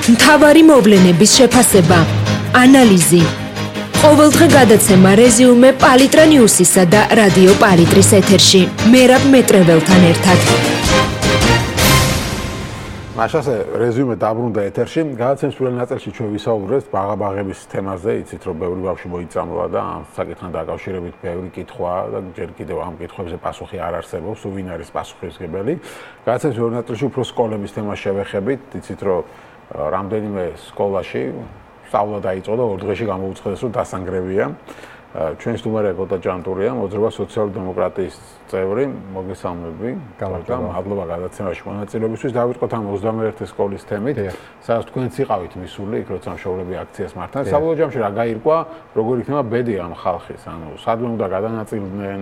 მთავარი მოვლენების შეფასება, ანალიზი. ყოველდღე გადაცემა რეზიუმე პალიტრა ნიუსისა და რადიო პალიტრის ეთერში. მერაბ მეტრეველთან ერთად. მაშასე რეზიუმე დაბრუნდა ეთერში. გადაცემის პირველ ნაწილში ჩვენ ვისაუბრეთ ბაღაბაღების თემაზე, იცით რომ ბევრი ბავშვი მოიწამლა და ამ საკითხთან დაკავშირებით ბევრი კითხვა და ჯერ კიდევ ამ კითხვებზე პასუხი არ არსებობს, ვინ არის პასუხისმგებელი. გადაცემის პირველ ნაწილში უფრო სკოლების თემას შევეხებით, იცით რომ რამდენიმე სკოლაში სწავლა დაიწყო და 2 დღეში გამოუცხადეს რომ დასანგრევია. ჩვენ სტუმარია გოთა ჯანტურია, მოძრაობა სოციალ-დემოკრატიის წევრი, მოგესალმები. მადლობა გადაცემაში მონაწილეობისთვის. დავიწყოთ ამ 21 სკოლის თემით, სადაც თქვენც იყავით მისული, იქ როცა მშობლები აქციას მართავენ. საბოლოო ჯამში რა გაირკვა, როგორ იქნება ბედი ამ ხალხის, ანუ სადმე უნდა გადანაწილდნენ,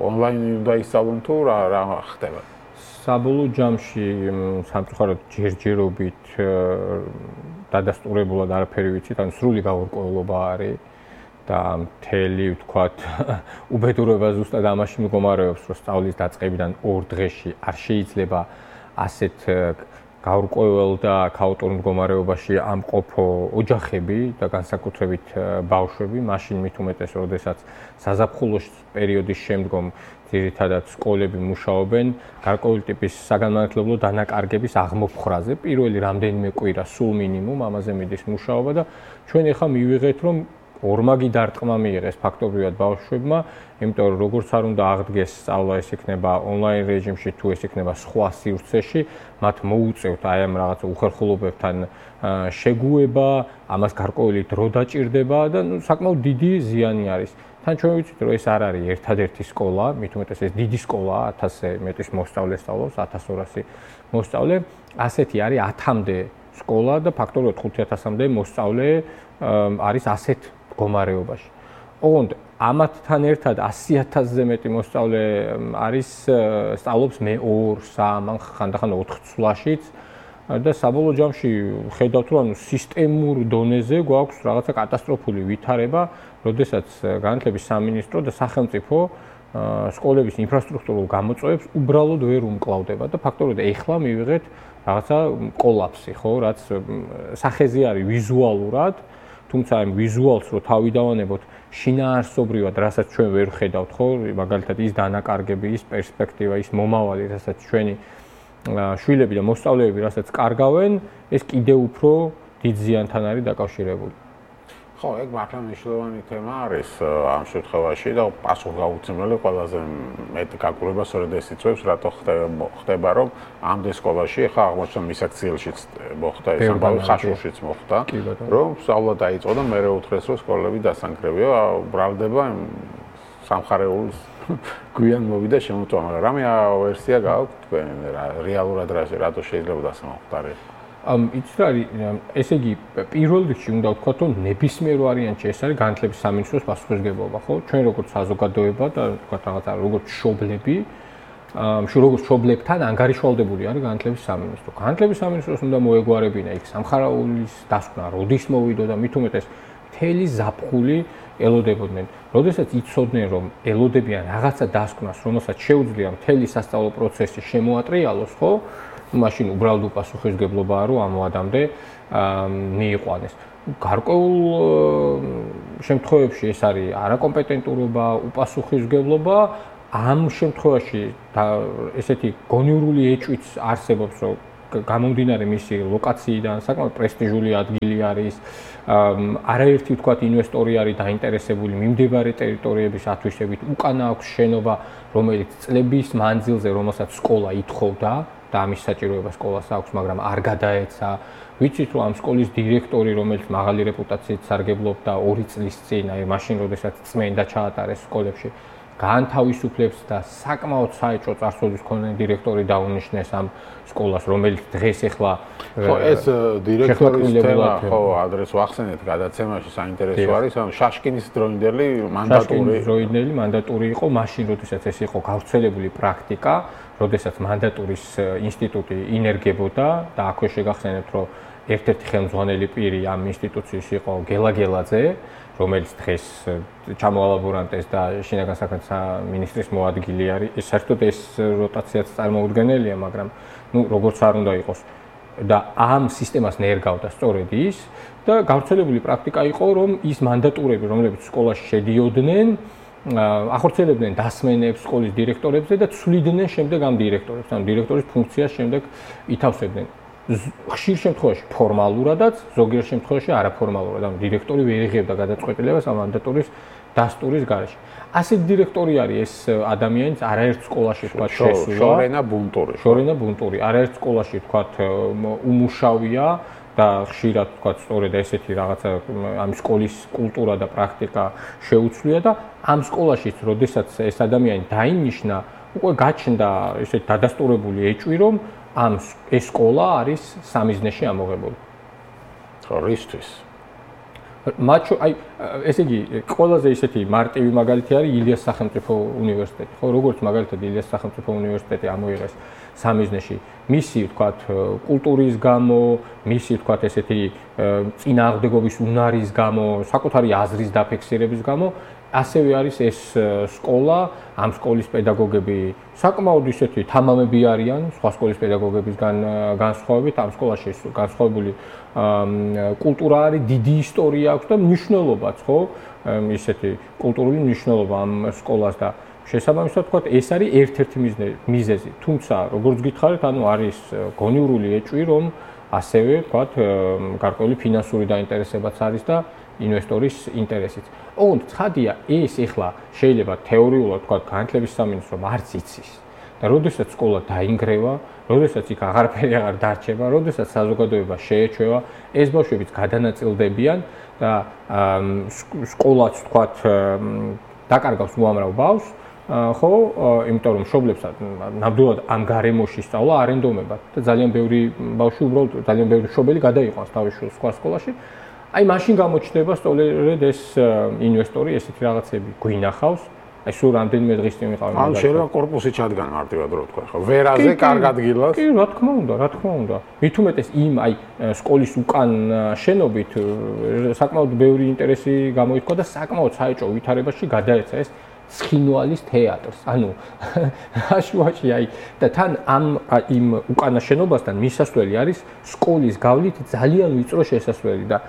ონლაინი უნდა ისწავლონ თუ რა ხდება? საბოლოო ჯამში სამწუხაროდ ჯერჯერობით დადასტურებულად არაფერი ვიცით, ანუ სრული გაურკვევლობა არის და მთელი ვთქვათ უბედურება ზუსტად ამაში მდგომარეობს, რომ სწავლის დაწყებიდან 2 დღეში არ შეიძლება ასეთ გაურკვეველ და ქაოტურ მდგომარეობაში ამყოფო ოჯახები და განსაკუთრებით ბავშვები, მაშინ მით უმეტეს, როდესაც საზაფხულოს პერიოდის შემდგომ ძირითადად სკოლები მუშაობენ გარკვეული ტიპის საგანმანათლებლო დანაკარგების აღმოფხრაზე. პირველი რამდენიმე კვირა სულ მინიმუმ ამაზე მიდის მუშაობა და ჩვენ ახლა მივიღეთ, რომ ორმაგი დარტყმა მიიღეს ფაქტობრივად ბავშვებმა, იმიტომ რომ როგორც არ უნდა აღდგეს სწავლა, ეს იქნება ონლაინ რეჟიმში თუ ეს იქნება სხვა სივრცეში, მათ მოუწევთ აი ამ რაღაც უხერხულობებთან შეგუება, ამას გარკვეული დრო დაჭირდება და საკმაოდ დიდი ზიანი არის. თან ჩვენ ვიცით, რომ ეს არ არის ერთადერთი სკოლა, მით უმეტეს ეს დიდი სკოლაა, 1000-ზე მეტის მოსწავლე სწავლობს, 1200 მოსწავლე, ასეთი არის 1000-მდე სკოლა და ფაქტობრივად 5000-მდე მოსწავლე არის ასეთ მდგომარეობაში. ოღონდ ამათთან ერთად 100000-ზე მეტი მოსწავლე არის სწავლობს მე 2-3, ხანდახან 4 ცვლაშიც და საბოლოო ჯამში ხედავთ, რომ სისტემურ დონეზე გვაქვს რაღაცა კატასტროფული ვითარება, როდესაც განათლების სამინისტრო და სახელმწიფო სკოლების ინფრასტრუქტურულ გამოწვევებს უბრალოდ ვერ უმკლავდება და ფაქტობრივად ეხლა მივიღეთ რაღაცა კოლაფსი, ხო, რაც სახეზე არის ვიზუალურად, თუმცა ამ ვიზუალს რო თავი დავანებოთ შინაარსობრივად, რასაც ჩვენ ვერ ხედავთ, ხო, მაგალითად ის დანაკარგები, ის პერსპექტივა, ის მომავალი, რასაც ჩვენი შვილები და მოსწავლეები, რასაც კარგავენ, ეს კიდევ უფრო დიდ ზიანთან არის დაკავშირებული. ხო, ეგ მართლა მნიშვნელოვანი თემა არის ამ შემთხვევაში და პასუხგაუცემელი ყველაზე მეტ გაკურება სწორედ ეს იწვევს, რატო ხდება, რომ ამდენ სკოლაში, ხა აღმოჩნდა მისაქციელშიც მოხდა ეს ამბავი, ხაშურშიც მოხდა, რომ სწავლა დაიწყო და მერე უთხრეს, რომ სკოლები დასანგრევია, ბრალდება სამხარეულ გვიან მოვიდა შემოწვა, მაგრამ რამე ვერსია გააქვთ თქვენ რეალურად რატო შეიძლება დასამოხდარეთ? იცით რა არის, ესე იგი პირველ რიგში უნდა ვთქვათ, რომ ნებისმიერ ვარიანტში ეს არის განათლების სამინისტროს პასუხისმგებლობა, ხო? ჩვენ როგორც საზოგადოება და ვთქვათ რაღაცა როგორც მშობლები, როგორც მშობლებთან ანგარიშვალდებული არის განათლების სამინისტრო. განათლების სამინისტროს უნდა მოეგვარებინა იქ სამხარეულის დასკვნა, როდის მოვიდო და მით უმეტეს მთელი ზაფხული ელოდებოდნენ. როდესაც იცოდნენ, რომ ელოდებიან რაღაცა დასკვნას, რომელსაც შეუძლია მთელი სასწავლო პროცესი შემოატრიალოს, ხო? მაშინ უბრალოდ უპასუხისმგებლობაა, რომ ამ ვადამდე მიიყვანეს. გარკვეულ შემთხვევებში ეს არის არაკომპეტენტურობა, უპასუხისმგებლობა. ამ შემთხვევაში ესეთი გონივრული ეჭვიც არსებობს, რომ გამომდინარე მისი ლოკაციიდან საკმაოდ პრესტიჟული ადგილი არის, არაერთი ვთქვათ ინვესტორი არის დაინტერესებული მიმდებარე ტერიტორიების ათვისებით, უკანა აქვს შენობა, რომელიც წლების მანძილზე, რომელსაც სკოლა ითხოვდა და ამის საჭიროება სკოლას აქვს, მაგრამ არ გადაეცა. ვიცით, რომ ამ სკოლის დირექტორი, რომელიც მაღალი რეპუტაციით სარგებლობდა 2 წლის წინ, აი მაშინ, როდესაც წმენდა ჩაატარეს სკოლებში, გაანთავისუფლებს და საკმაოდ საეჭვო წარსულის მქონე დირექტორი დაუნიშნეს ამ სკოლას, რომელიც დღეს ახლა ხო ეს დირექტორის თემა ხო ადრეს ვახსენეთ გადაცემაში საინტერესო არის, ამ შაშკინის დროინდელი მანდატური იყო მაშინ, როდესაც ეს იყო გავრცელებული პრაქტიკა, როდესაც მანდატურის ინსტიტუტი ინერგებოდა და აქვე შეგახსენებთ, რომ ერთ-ერთი ხელმძღვანელი პირი ამ ინსტიტუციის იყო გელაგელაძე, რომელიც დღეს ჩამოალაბორანტეს და შინაგან საქმეთა მინისტრის მოადგილე არის. საერთოდ ეს როტაციაც წარმოუდგენელია, მაგრამ როგორც არ უნდა იყოს, და ამ სისტემას ნერგავდა სწორედ ის და გავრცელებული პრაქტიკა იყო, რომ ის მანდატურები, რომლებიც სკოლაში შედიოდნენ, ახორციელებდნენ დასმენებს სკოლის დირექტორებზე და ცვლიდნენ შემდეგ ამ დირექტორებს, ან დირექტორის ფუნქციას შემდეგ ითავსებდნენ. ხშირ შემთხვევაში ფორმალურადაც, ზოგიერთ შემთხვევაში არაფორმალურად, ანუ დირექტორი ვერ იღებდა გადაწყვეტილებას ამ მანდატურის დასტურის გარეშე. ასეთ დირექტორი არის ეს ადამიანიც არაერთ სკოლაში თქვა შესულა. შორენა ბუნტური. არაერთ სკოლაში თქვა უმუშავია და ხშირად თქვა სწორედ ესეთი რაღაცა ამ სკოლის კულტურა და პრაქტიკა შეუცვლია და ამ სკოლაშიც, როდესაც ეს ადამიანი დაინიშნა, უკვე გაჩნდა ესეთ დადასტურებული ეჭვი, რომ ეს სკოლა არის სამიზნეში ამოღებული. ხო, რისთვის? ესე იგი, ყველაზე ისეთი მარტივი მაგალითი არის ილიას სახელმწიფო უნივერსიტეტი. ხო, როგორც მაგალითად ილიას სახელმწიფო უნივერსიტეტი ამოიღეს სამიზნეში, მისი, ვთქვათ, კულტურის გამო, მისი, ვთქვათ, ესეთი წინააღმდეგობის უნარის გამო, საკუთარი აზრის დაფიქსირების გამო, ასევე არის ეს სკოლა, ამ სკოლის პედაგოგები საკმაოდ ისეთი თამამები არიან სხვა სკოლის პედაგოგებისგან განსხვავებით, ამ სკოლაში განსხვავებული კულტურა არის, დიდი ისტორია აქვს და მნიშვნელობაც, ხო? ისეთი კულტურული მნიშვნელობა ამ სკოლას და შესაბამისად ვთქვათ, ეს არის ერთ-ერთი მიზეზი. თუმცა, როგორც გითხარით, ანუ არის გონივრული ეჭვი, რომ ასევე ვთქვათ, გარკვეული ფინანსური დაინტერესებაც არის და ინვესტორის ინტერესიც. ოღონდ ცხადია, ეს ეხლა შეიძლება თეორიულად ვთქვათ, განათლების სამინისტრომ არც იცის. და როდესაც სკოლა დაინგრევა, როდესაც იქ აღარაფერი აღარ დარჩება, როდესაც საზოგადოება შეეჩვევა, ეს ბავშვებიც გადანაწილდებიან და სკოლაც ვთქვათ, დაკარგავს უამრავ ბავშვს, ხო, იმიტომ რომ მშობლებს ნამდვილად ამ გარემოში სწავლა არ ენდომებათ და ძალიან ბევრი ბავშვი უბრალოდ ძალიან ბევრი მშობელი გადაიყვანს თავის შვილს სხვა სკოლაში. აი მაშინ გამოჩნდება სწორედ ეს ინვესტორი, ესეთი რაღაცები გვინახავს. აი სულ რამდენიმე დღის წინ ვიყავი. ან შეიძლება კორპუსი ჩადგან მარტივად რო თქვა, ხო, ვერაზე კარგ ადგილას. კი, რა თქმა უნდა. მით უმეტეს იმ აი სკოლის უკან შენობით საკმაოდ ბევრი ინტერესი გამოიქვა და საკმაოდ საეჭვო ვითარებაში გადაეცა ეს ცხინვალის თეატრს. ანუ აშუაში აი და თან იმ უკანა შენობასთან მისასვლელი არის სკოლის გავლით ძალიან ვიწრო შესასვლელი და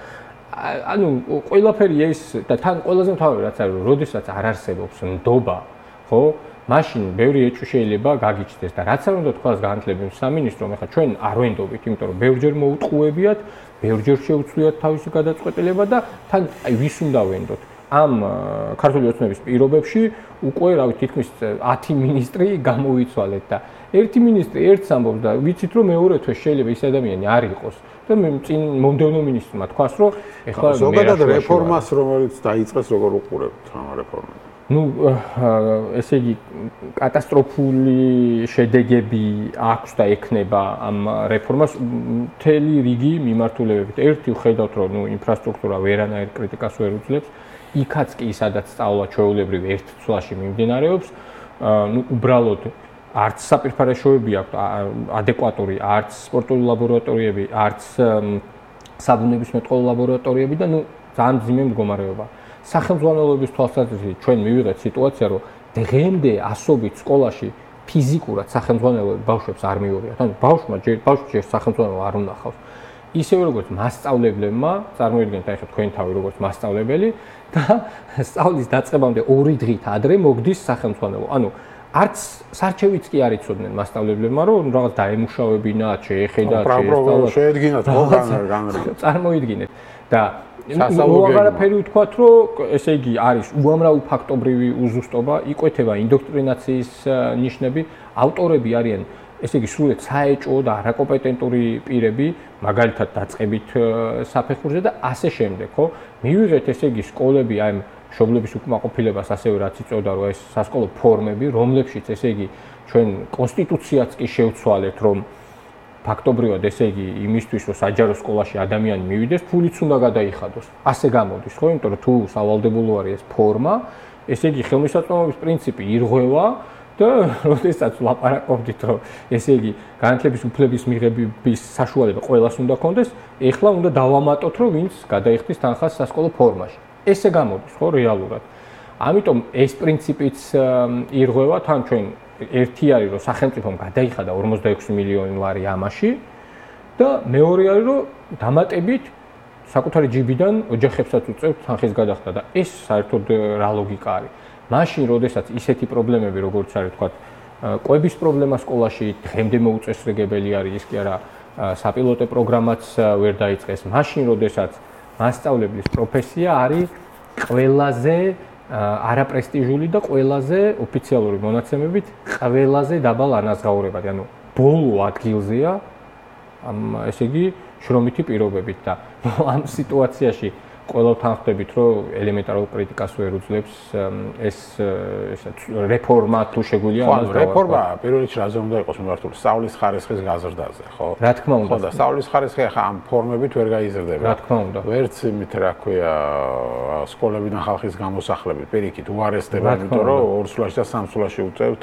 ანუ ყველაფერი ეს და თან ყველაზე მთავარი რაც არის, როდესაც არ არსებობს ნდობა, ხო? მაშინ ბევრი ეჭვი შეიძლება გაგიჩნდეს და რაც არ უნდა თქვას განათლების სამინისტრომ, ეხლა ჩვენ არ ვენდობით, იმიტომ რომ ბევრჯერ მოუტყუებიათ, ბევრჯერ შეუცვლიათ თავისი გადაწყვეტილება და თან აი ვის უნდა ვენდოთ? ამ ქართული ოცნების პირობებში უკვე რა ვიცი თითქმის 10 მინისტრი გამოიცვალეთ და ერთი მინისტრი ერთს ამბობს და ვიცით რომ მეორე თვე შეიძლება ის ადამიანი არ იყოს და მე წინ მომდევნო მინისტრმა თქვას რომ ეხლა ზოგადად რეფორმას რომელიც დაიწყეს როგორ უყურებთ ამ რეფორმას? ну ესე იგი კატასტროფული შედეგები აქვს და ექნება ამ რეფორმას მთელი რიგი მიმართულებებით. ერთი ვხედავთ რომ ნუ ინფრასტრუქტურა ვერანაირ კრიტიკას ვერ უძლებს. იქაც კი სადაც სწავლა ჩვეულებრივ ერთ წლაში მიმდინარეობს, ну უბრალოდ არც საპირფარეშოები აქვს ადეკვატური, არც სპორტული ლაბორატორიები, არც საბუნებისმეტყველო ლაბორატორიები და ну ძალიან ძიმე მდგომარეობა. სახელმძღვანელოების თვალსაზრისით ჩვენ მივიღეთ სიტუაცია, რომ დღემდე ასობით სკოლაში ფიზიკურად სახელმძღვანელოები ბავშვებს არ მიუღიათ. ანუ ბავშვმა ჯერ სახელმძღვანელო არ უნახავს. ისევე როგორც მასწავლებლებმა, წარმოიდგინეთ აი ხა თქვენ თავი როგორც მასწავლებელი და სწავლის დაწყებამდე 2 დღით ადრე მოგდის სახელმძღვანელო. ანუ არც სარჩევიც კი არ იცოდნენ მასწავლებლებმა, რომ რაღაც დაემუშავებინათ, შეეხედათ, შეედგინათ განრიგად. წარმოიდგინეთ და უაღარაფერი ვთქვათ, რომ ესე იგი არის უამრავი ფაქტობრივი უზუსტობა, იკვეთება ინდოქტრინაციის ნიშნები, ავტორები არიან ესე იგი სრულად საეჭვო და არაკომპეტენტური პირები, მაგალითად დაწყებით საფეხურზე და ასე შემდეგ, ხო? მივიღეთ ესე იგი სკოლები აი მშობლების უკმაყოფილებას ასევე რაც იწოდა, რომ ეს სასკოლო ფორმები, რომლებშიც ესე იგი ჩვენ კონსტიტუციაც კი შევცვალეთ, რომ ფაქტობრივად ესე იგი იმისთვის, რომ საჯარო სკოლაში ადამიანი მივიდეს, ფულიც უნდა გადაიხადოს. ასე გამოდის, ხო? იმიტომ რომ თუ სავალდებულო არის ეს ფორმა, ესე იგი ხელმისაწვდომობის პრინციპი ირღვევა და როდესაც ვლაპარაკობდით, რომ ესე იგი განათლების უფლების მიღების საშუალება ყველას უნდა ქონდეს, ეხლა უნდა დავამატოთ, რომ ვინც გადაიხდის თანხას სასკოლო ფორმაში. ესე გამოდის, ხო, რეალურად. ამიტომ ეს პრინციპიც ირღვევა, თან ჩვენ ერთი არის, რომ სახელმწიფომ გადაიხადა 46 მილიონი ლარი ამაში და მეორე არის რომ დამატებით საკუთარი ჯიბიდან ოჯახებსაც უწევთ თანხის გადახდა და ეს საერთოდ რა ლოგიკა არის? მაშინ, როდესაც ისეთი პრობლემები, როგორც არის თქვა, კვების პრობლემა სკოლაში დღემდე მოუწესრიგებელი არის, ის კი არა საპილოტო პროგრამაც ვერ დაიწყეს. მაშინ, როდესაც მასწავლებლის პროფესია არის ყველაზე არაპრესტიჟული და ყველაზე ოფიციალური მონაცემებით ყველაზე დაბალ ანაზღაურებადი, ანუ ბოლო ადგილზეა ესე იგი შრომითი პირობებით და ამ სიტუაციაში ყველავთან ხვდებით, რომ ელემენტარულ კრიტიკას ვერ უძლებს ეს რეფორმა თუ შეგვიძლია ამას დავარქვათ. რეფორმა პირველ რიგში რაზე უნდა იყოს მიმართული? სწავლის ხარისხის გაზრდაზე, ხო? რა თქმა უნდა. ხო და სწავლის ხარისხი ახლა ამ ფორმებით ვერ გაიზრდება. რა თქმა უნდა. ვერც იმით რა ქვია სკოლებიდან ხალხის გამოსახლებით პირიქით უარესდება, იმიტომ რომ ორ სულაში და სამ სულაში უწევთ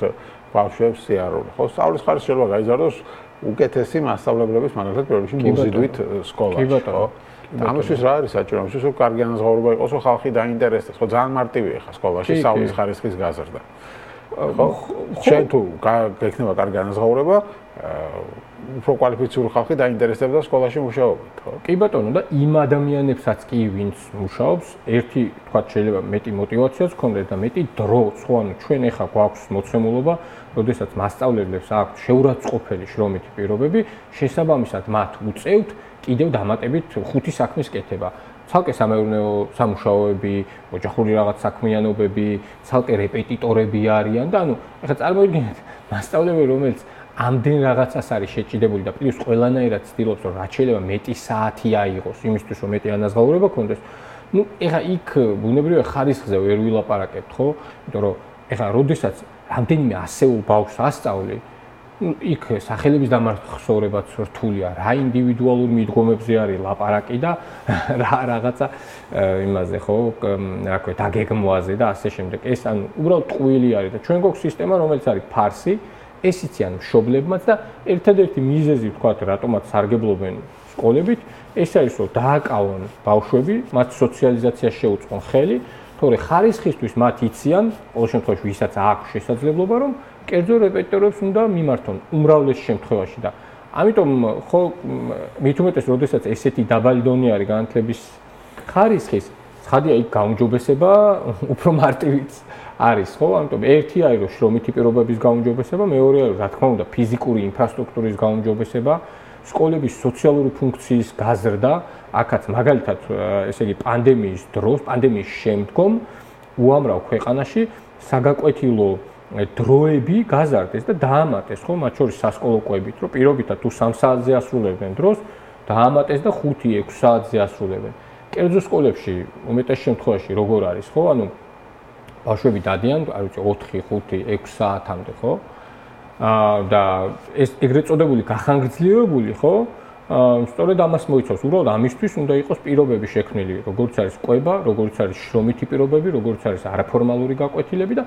ბავშვებს სიარული. ხო, სწავლის ხარისხი შეიძლება გაიზარდოს უკეთესი მასწავლებლების მაგალითად პირველ რიგში მოზიდვით სკოლაში, ხო? ამისთვის რა არის საჭირო? ამისთვის რომ კარგი ანაზღაურება იყოს, რომ ხალხი დაინტერესდეს, ხო ძალიან მარტივია ხა სკოლაში სწავლის ხარისხის გაზრდა. ხო? შენ თუ გექნება კარგი ანაზღაურება, უფრო კვალიფიციური ხალხი დაინტერესდება სკოლაში მუშაობით, ხო? კი ბატონო და იმ ადამიანებსაც კი ვინც მუშაობს, ერთი თქვა შეიძლება მეტი мотиваციაც გქონდეს და მეტი დროც, ხო, ანუ ჩვენ ეხა გვაქვს მოცემულობა, როდესაც მასწავლებლებს აქვთ შეურაცხყოფელი შრომითი პირობები, შესაბამისად მათ უწევთ კიდევ დამატებით 5 საქმის კეთება. ცალკე სამეურნეო სამუშაოები, ოჯახური რაღაც საქმიანობები, ცალკე რეპეტიტორები არიან და ანუ ეხლა წარმოიდგინეთ მასწავლებელი რომელიც ამდენ რაღაცას არის შეჭიდებული და პლუს ყველანაირად ცდილობს რომ რაც შეიძლება მეტი საათი აიღოს იმისთვის რომ მეტი ანაზღაურება ქონდეს. ნუ ეხლა იქ ბუნებრივია ხარისხზე ვერ ვილაპარაკებთ, ხო? იმიტომ რომ ეხლა როდესაც რამდენიმე ასეულ ბავშვს ასწავლი იქ სახელების დამახსოვრებაც რთულია, რა ინდივიდუალურ მიდგომებზე არის ლაპარაკი და რა რაღაცა იმაზე ხო, რა ქვია, დაგეგმვაზე და ასე შემდეგ. ეს ანუ უბრალოდ ტყუილი არის და ჩვენ გვაქვს სისტემა, რომელიც არის ფარსი, ეს იციან მშობლებმაც და ერთადერთი მიზეზი ვთქვათ, რატომაც სარგებლობენ სკოლებით, ეს არის რომ დააკავონ ბავშვები, მათ სოციალიზაციას შეუწყონ ხელი, თორე ხარისხისთვის მათ იციან, ყოველ შემთხვევაში ვისაც აქვს შესაძლებლობა რომ კერძო რეპეტიტორებს უნდა მიმართონ უმრავლეს შემთხვევაში და ამიტომ ხო მით უმეტეს როდესაც ესეთი დაბალი დონე არის განათლების ხარისხის, ცხადია იქ გაუმჯობესება უფრო მარტივიც არის, ხო? ამიტომ ერთი არის რომ შრომითი პირობების გაუმჯობესება, მეორე არის რა თქმა უნდა ფიზიკური ინფრასტრუქტურის გაუმჯობესება, სკოლების სოციალური ფუნქციის გაზრდა, აქაც მაგალითად ესე იგი პანდემიის დროს, პანდემიის შემდგომ უამრავ ქვეყანაში საგაკვეთილო დროები გაზარდეს და დაამატეს, ხო, მათ შორის სასკოლო კვებით, რომ პირობითად თუ 3 საათზე ასრულებდნენ დროს, დაამატეს და 5-6 საათზე ასრულებენ. კერძო სკოლებში უმეტეს შემთხვევაში როგორ არის, ხო? ანუ ბავშვები დადიან, არ ვიცი, 4, 5, 6 საათამდე, ხო? და ეს ეგრეთ წოდებული გახანგრძლივებული, ხო? სწორედ ამას მოიცავს. უბრალოდ ამისთვის უნდა იყოს პირობები შექმნილი, როგორც არის კვება, როგორც არის შრომითი პირობები, როგორც არის არაფორმალური გაკვეთილები და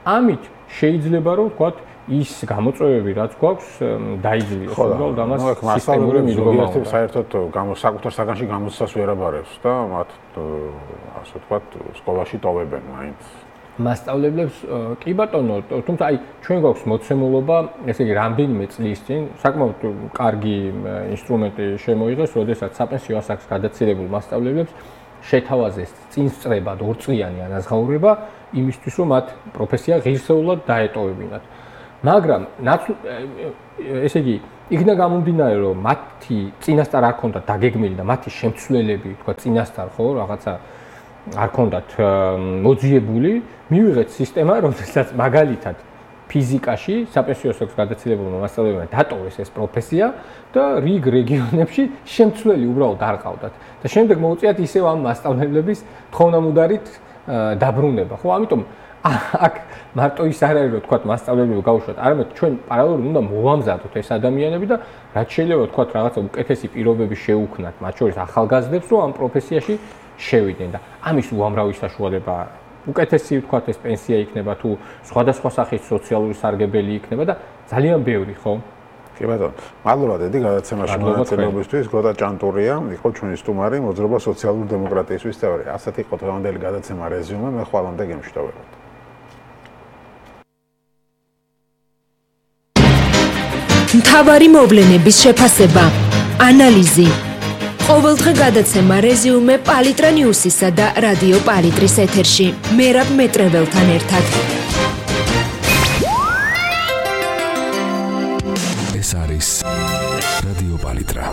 ამით შეიძლება რომ ვთქვათ ის გამოწვევები რაც გვაქვს დაიძლიოს. უბრალოდ ამას სისტემური მიდგომა აქვს. საერთოდ საკუთარ საგანში გამოცდას ვერ აბარებს და მათ ასე ვთქვათ სკოლაში ტოვებენ მაინც. მასწავლებლებს კი ბატონო, თუმცა აი ჩვენ გვაქვს მოცემულობა, ესე იგი რამდენიმე წლის წინ საკმაოდ კარგი ინსტრუმენტი შემოიღეს, როდესაც საპენსიო ასაკს გადაცილებულ მასწავლებლებს შეთავაზეს წინსწრებად 2 წლიანი ანაზღაურება იმისთვის, რომ მათ პროფესია ღირსეულად დაეტოვებინათ. მაგრამ ესე იგი იქნა გამომდინარე, რომ მათი წინასწარ არ ქონდათ დაგეგმილი და მათი შემცვლელები, თქვა წინასწარ ხო, რაღაცა არ ქონდათ მოძიებული, მივიღეთ სისტემა, რომელსაც მაგალითად ფიზიკაში საპენსიო ასაკს გადაცილებულმა მასწავლებლებმა დატოვეს ეს პროფესია და რიგ რეგიონებში შემცვლელი უბრალოდ არ ყავდათ. და შემდეგ მოუწიათ ისევ ამ მასწავლებლების თხოვნამუდარით დაბრუნება. ხო, ამიტომ აქ მარტო ის არ არის, რომ თქვა მასწავლებლები გაუშვათ, არამედ ჩვენ პარალელურად უნდა მოვამზადოთ ეს ადამიანები და რაც შეიძლება თქვა რაღაცა უკეთესი პირობები შეუქმნათ, მათ შორის ახალგაზრდებს, რომ ამ პროფესიაში შევიდნენ და ამის უამრავი საშუალება არის. უკეთესი ვთქვათ ეს პენსია იქნება თუ სხვადასხვა სახის სოციალური სარგებელი იქნება და ძალიან ბევრი, ხო? კი ბატონო, მადლობა დედი გადაცემაში მონაწილეობისთვის. გოთა ჭანტურია, იყო ჩვენი სტუმარი, მოძრაობა სოციალური დემოკრატიისთვის წევრი. ასეთ იყო დღევანდელი გადაცემა რეზიუმე, მე ხვალამდე გემშვიდობებთ. მთავარი მოვლენების შეფასება ანალიზი. ყოველდღე გადაცემა რეზიუმე პალიტრა ნიუსისა და რადიო პალიტრის ეთერში. მერაბ მეტრეველთან ერთად. ეს არის რადიო პალიტრა.